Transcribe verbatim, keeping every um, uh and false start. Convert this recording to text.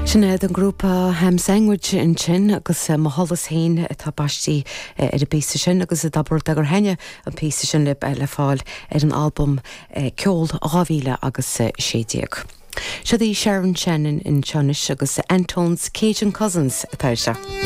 Sin é an grúpa Ham Sandwich ansin agus eh, Mo Sholas Féin atá baiste eh, ar an bpíosa sin agus a dabar gur henne an píosa sin le le fáil ar an album eh, Ceol dhá mhíle agus sé déag. Seo í Sharon Shannon anseo anois agus Antone's Cajun Cousins atá seo.